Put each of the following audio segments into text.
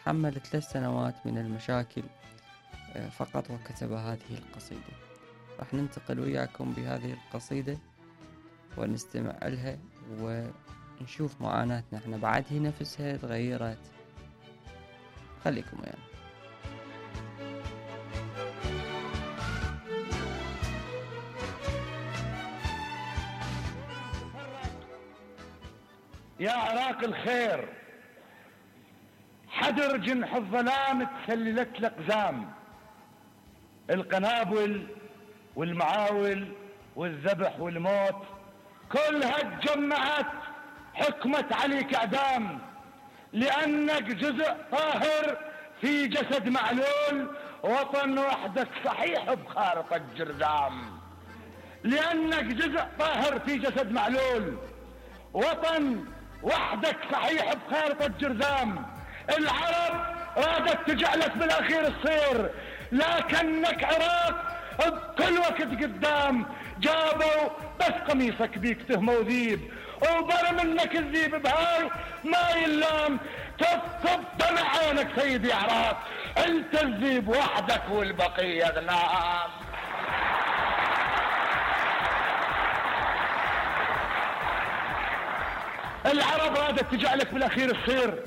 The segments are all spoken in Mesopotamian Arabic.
تحمل 3 سنوات من المشاكل فقط وكتب هذه القصيدة. راح ننتقل وياكم بهذه القصيدة ونستمع لها ونشوف معاناتنا احنا بعد هي نفسها تغيرت. خليكم ويانا. يا عراق الخير، حدر جنح الظلام تسللت الأقزام، القنابل والمعاول والذبح والموت كلها تجمعت حكمت عليك اعدام، لانك جزء طاهر في جسد معلول، وطن وحدك صحيح بخارطة الجرذام. لانك جزء طاهر في جسد معلول، وطن وحدك صحيح بخارطة الجرذام. العرب رادت تجعلك بالاخير تصير، لكنك عراق بكل وقت قدام. جابوا بس قميصك بيك تهمة وذيب، وبر منك الذيب بهاي ما يلام. تفقد دمع عينك سيدي عراق، انت الذيب وحدك والبقية غنام. العرب رادت تجعلك بالاخير تصير،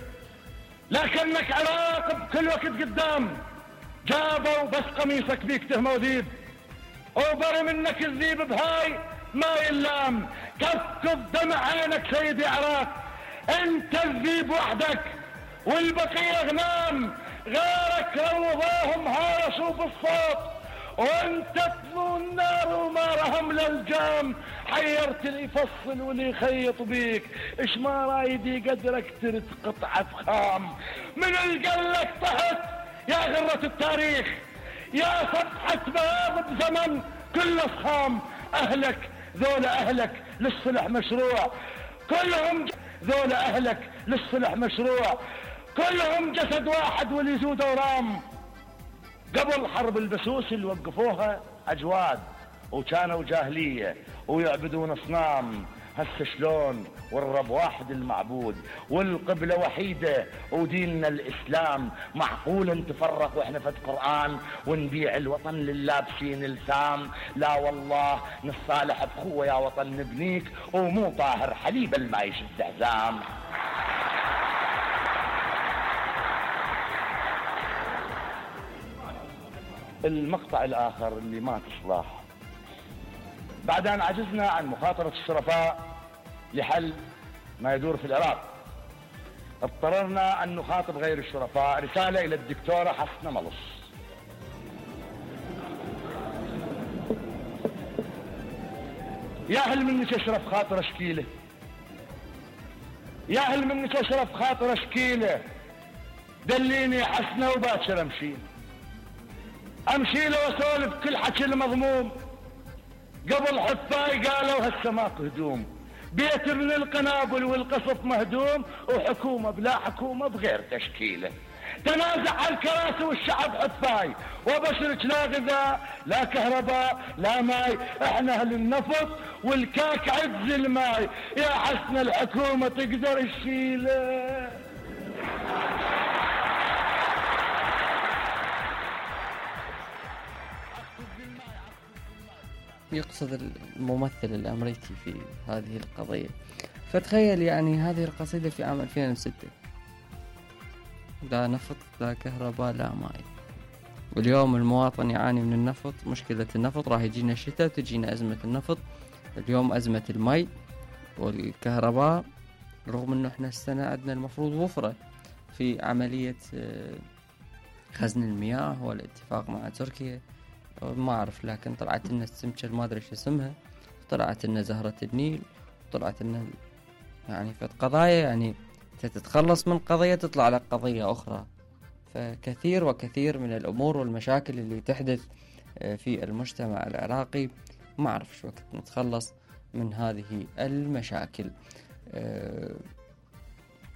لكنك عراق بكل وقت قدام. جابوا بس قميصك بيك تهمة وذيب، وبر منك الذيب بهاي ما يلام. كفكف دمع عينك سيدي عراق، انت الذيب وحدك والبقية غنام. غيرك روضاهم هارسوا بالصوت، وانت تطلو النار وما رهم للجام. حيرت اللي يفصل واللي يخيط بيك، اش ما رايدي قدرك ترد قطعة خام. من القلك طهت يا غرة التاريخ، يا صفحة باب بزمن كل صخام. اهلك ذولا اهلك للصلح مشروع كلهم، ذولا اهلك للصلح مشروع كلهم جسد واحد واللي ذو دورام. قبل حرب البسوس اللي وقفوها اجواد وكانوا جاهلية ويعبدون اصنام، هسه شلون والرب واحد المعبود والقبلة وحيدة وديننا الاسلام. معقول نتفرق واحنا فد قرآن ونبيع الوطن لللابسين الثام؟ لا والله نصالح بخوة يا وطن نبنيك، ومو طاهر حليب الما يشد حزام. المقطع الاخر اللي ما تصلح، بعد ان عجزنا عن مخاطرة الشرفاء لحل ما يدور في العراق، اضطررنا ان نخاطب غير الشرفاء. رسالة الى الدكتورة حسنة ملص. يا هل منك اشرف خاطر اشكيله، يا هل منك اشرف خاطر اشكيله. دليني يا حسنة وباكر امشي له واسولف كل حكي المضموم. قبل حفاي قالوا هسه ماكو هدوم، بيت من القنابل والقصف مهدوم، وحكومة بلا حكومة بغير تشكيله. تنازع على الكراسي والشعب حفاي، وبشرك لا غذاء لا كهرباء لا ماي، احنا اهل النفط والكاك عز الماي. يا حسن الحكومة تقدر تشيله. يقصد الممثل الأمريكي في هذه القضية. فتخيل يعني هذه القصيدة في عام 2006، لا نفط لا كهرباء لا ماء، واليوم المواطن يعاني من النفط. مشكلة النفط راح يجينا الشتاء وتجينا أزمة النفط. اليوم أزمة الماء والكهرباء، رغم أنه احنا السنة عندنا المفروض وفرة في عملية خزن المياه والاتفاق مع تركيا، ما أعرف، لكن طلعت لنا السمكة ما أدري شو اسمها، طلعت لنا زهرة النيل، طلعت لنا يعني في قضايا، يعني تتخلص من قضية تطلع لك قضية أخرى. فكثير وكثير من الأمور والمشاكل اللي تحدث في المجتمع العراقي، ما أعرف شو وقت نتخلص من هذه المشاكل.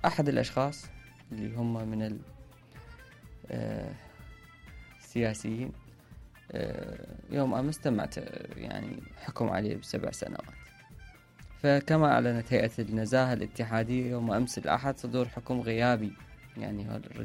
أحد الأشخاص اللي هم من السياسيين يوم أمس استمعت يعني حكم عليه ب7 سنوات. فكما أعلنت هيئة النزاهة الاتحادية يوم أمس الأحد صدور حكم غيابي، يعني